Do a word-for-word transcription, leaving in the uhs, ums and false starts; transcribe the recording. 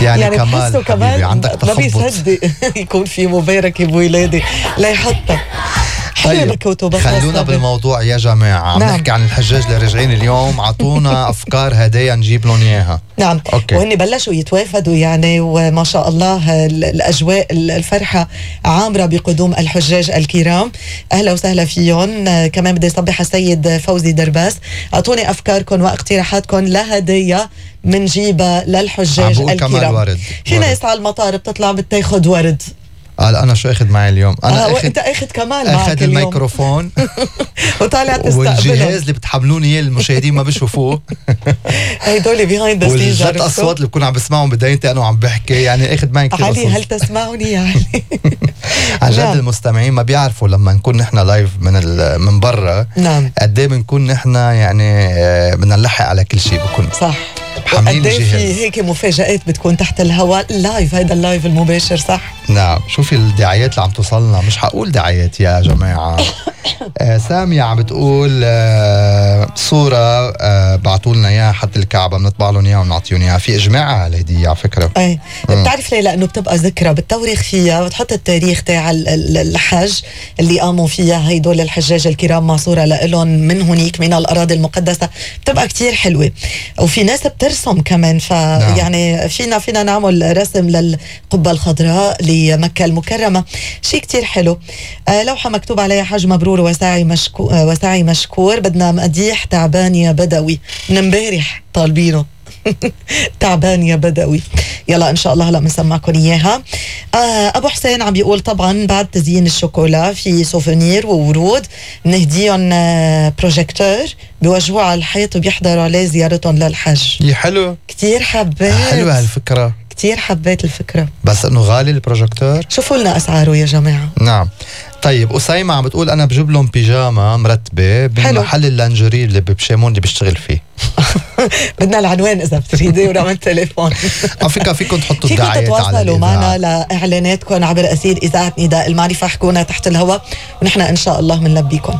يعني, يعني كمال كمان عندك ما تخبط. بيصدق يكون في مباركة بولادي لا يحطها. طيب خلونا بالموضوع يا جماعة. عم نعم. نحكي عن الحجاج اللي راجعين اليوم. عطونا أفكار هدايا نجيب لهم إياها. نعم. أوكي. وهن بلشوا يتوافدوا يعني، وما شاء الله الأجواء الفرحة عامرة بقدوم الحجاج الكرام. أهلا وسهلا فيهم. كمان بدي صبح السيد فوزي درباس، أعطوني أفكاركم واقتراحاتكم لهدايا منجيبها للحجاج الكرام. في ناس على المطار بتطلع بتاخد ورد. قال أنا شو أخذ معي اليوم؟ أنا آه أخذ أنت أخذ كمان معك أخذ اليوم الميكروفون وطالع تستقبله، والجهاز اللي بتحملوني إياه المشاهدين ما بيشوفوه. هيدول بيهايند ذا سينز، والجت أصوات اللي بكون عم بسمعهم بدايتي أنا وعم بحكي. يعني أخذ معي كتير علي قصص. هل تسمعني يعني؟ عن جد نعم. المستمعين ما بيعرفوا لما نكون نحن لايف من من برا نعم قد ايه بنكون نحن يعني بدنا نلحق على كل شيء. بكون صح. حاملين وقد ايه الجهاز. في هيك مفاجآت بتكون تحت الهواء لايف. هيدا اللايف المباشر صح. نعم. شوفي الدعايات اللي عم توصلنا. مش حقول دعايات يا جماعة. آه سامية عم بتقول آه صورة آه بعتوا لنا اياها حد الكعبة بنطبع لهم اياها ونعطيهم اياها. في اجماع على الهدية على فكرة. ايه بتعرف ليه؟ لانه بتبقى ذكرى بتورخ فيها وتحط التاريخ تاع الحج اللي قاموا فيها هيدول الحجاج الكرام مع صورة لهم من هنيك من الأراضي المقدسة. بتبقى كتير حلوة. وفي ناس بترسم كمان، فيعني فينا فينا نعمل رسم للقبة الخضراء لمكة المكرمة. شيء كتير حلو. آه لوحة مكتوب عليها حج مبرور وساعي مشكور آه وساعي مشكور. بدنا مديح تعبان يا بدوي. من امبارح طالبينه. تعبان يا بدوي. يلا ان شاء الله هلا بنسمعكم اياها. آه ابو حسين عم بيقول طبعا بعد تزيين الشوكولا في سوفونير وورود نهديهم آه بروجيكتور بيوجهوه على الحيط وبيحضروا عليه زيارتهم للحج. يا حلو كتير حبيت. حلوة هالفكرة. كتير حبيت الفكرة. بس انه غالي البروجيكتور. شوفوا لنا اسعاره يا جماعة. نعم. طيب أسيمة عم بتقول أنا بجيب لهم بيجاما مرتبة بمحل اللانجري اللي بشيمون اللي بيشتغل فيه. بدنا العنوان إذا بتريدي ورقم التليفون. على فكرة فيكم تحطوا فيكم الدعايات على تتواصلوا معنا لإعلاناتكم عبر أسير إذاعة نداء المعرفة. احكونا تحت الهواء ونحن إن شاء الله منلبيكم.